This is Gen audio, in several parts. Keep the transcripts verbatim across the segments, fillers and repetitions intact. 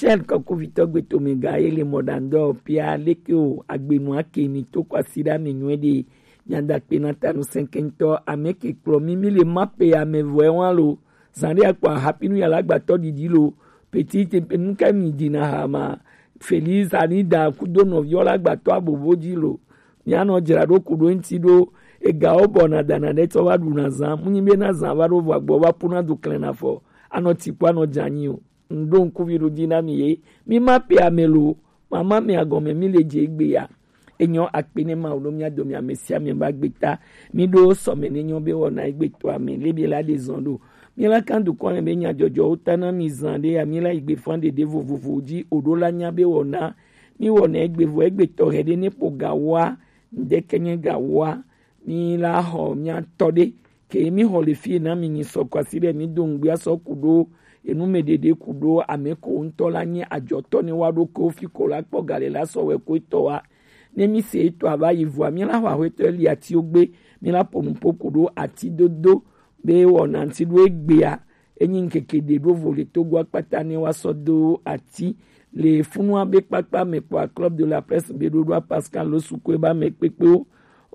Tel kɔkuvitɔ gbetome ga ye le mɔɖaŋdɔ pia leke o agbenu ake mi to kwasiɖa mi nyuie ɖe. Nyadakpe na tanu sɛnkɛntɔ ame ke kplɔ mi mi le ma pe ame vɔe wa lo. Zan ɖe akpɔ ahapinu yala gbatɔ ɖiɖi lo. Petit nuka mi dina hama Feliz ani da kudo nɔviɔ la gbatɔ abobo dzi lo. Mianɔ dzra ɖo ku ɖo ŋuti ɖo. Egawo bɔ na dana ɖe tsɔ va ɖu na zan mu nyi be na zan va ɖo vɔ agbɔ va pu na du klɛn na fɔ. Anɔ tsi kpɔ anɔ dze anyi o. Ŋɖo ŋkuvi ɖo dzi na mi ye. Mi ma pe ame lo. Mama mi agɔme mi le dze egbe ya. Enyɔ akpe ne ma wo ɖo mia do mi ame sia ame ba gbe ta. Mi ɖo sɔme ne nyɔ be wɔna egbe to ame le bi la de zɔn ɖo. Mi la kan dukɔ ame be nya jɔjɔ wo ta na mi zan ɖe ya mi la yi gbe fan ɖeɖe vovovo dzi o ɖo la nya be wɔna. Mi wɔna egbe vo egbe tɔ hɛ ɖe ne po ga wa. Ŋɖe ke nye ga wa. Mi la xɔ mia tɔ ɖe ke mi xɔ le fie na mi nyi sɔ kwasi ɖe mi do ŋgbia sɔ ku ɖo enu me ɖeɖe ku ɖo ame ko ŋutɔ la nye adzɔtɔ ne wa ɖo ko fi ko la kpɔ gale la sɔ wɛ ko etɔ wa. Ne mi se etɔ ava yi vua mi la xɔ axɔetɔ li atiwo gbe. Mi la po nupo ku ɖo ati dodo be wɔna ŋti ɖo egbea. Enyi ŋkeke ɖe ɖo vo le Togo akpata ne wa sɔ do ati le funua be kpakpa me kpɔ a Club de la Presse be ɖoɖoa Pascal lo suku e ba me kpekpewo.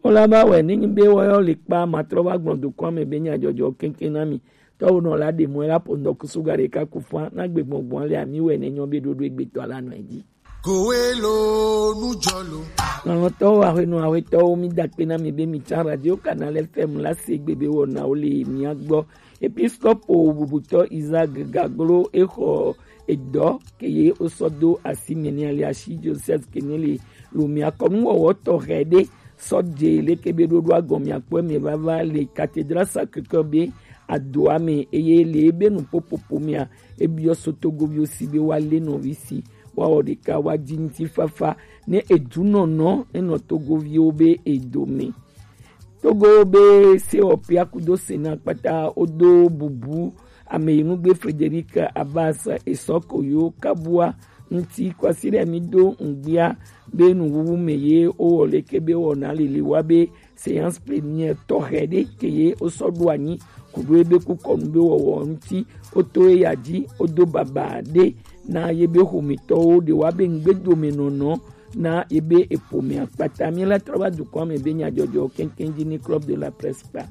Wo la ba wɛ ne nyi be wɔyɔ le kpa matrɔ va gblɔ dokɔa me be nya jɔjɔ keŋkeŋ na mi. Tɔwo nɔ la ɖe mɔ la po ŋdɔ kusu ga ɖeka ku fua na gbe gbɔngbɔn le ami wɛ ne nyɔ be ɖoɖo egbetɔ la nɔ edzi. Kowe lo nujɔ lo. Lɔlɔtɔwo ahwenɔ ahwetɔwo mi da kpe na mi be mi tsa radio Canal F M la se gbe be wɔna wo le mia gbɔ. Episkopo bubutɔ Isaac Gaglo exɔ edɔ ke ye wosɔ do asi me ne alias Joseph Kenele lo mia kɔnu wɔwɔ tɔxɛ ɖe sɔ dze leke be ɖoɖo agɔmia kpɔ me vava le cathédrale Sacré-Cœur be adoa me eye le ebe nu popopo mia ebiɔ so togoviwo si be wa le nɔvi si wa wɔ ɖeka wa dzi ŋuti fafa ne edu nɔnɔ enɔ togoviwo be edome. Togo be sewɔƒea kudo Sena kpata wodo bubu ame yi nugbe Frederic Abbas esɔ koyo kabua ŋuti kwasi ɖe mi do ŋgbia be nuwuwu me ye wowɔ leke be wɔna lili wa be séance plénière tɔxɛ ɖe ke ye wosɔ ɖo anyi ku ɖo ebe kukɔnu be wɔwɔ ŋuti woto eya dzi wodo baba ɖe na yebe xometɔwo ɖe wa be ŋgbedomenɔnɔ na yebe eƒomea kpata. Mi la trɔ va dukɔa me be nyadzɔdzɔ keŋkeŋ dzi ni Club de la Presse kpa.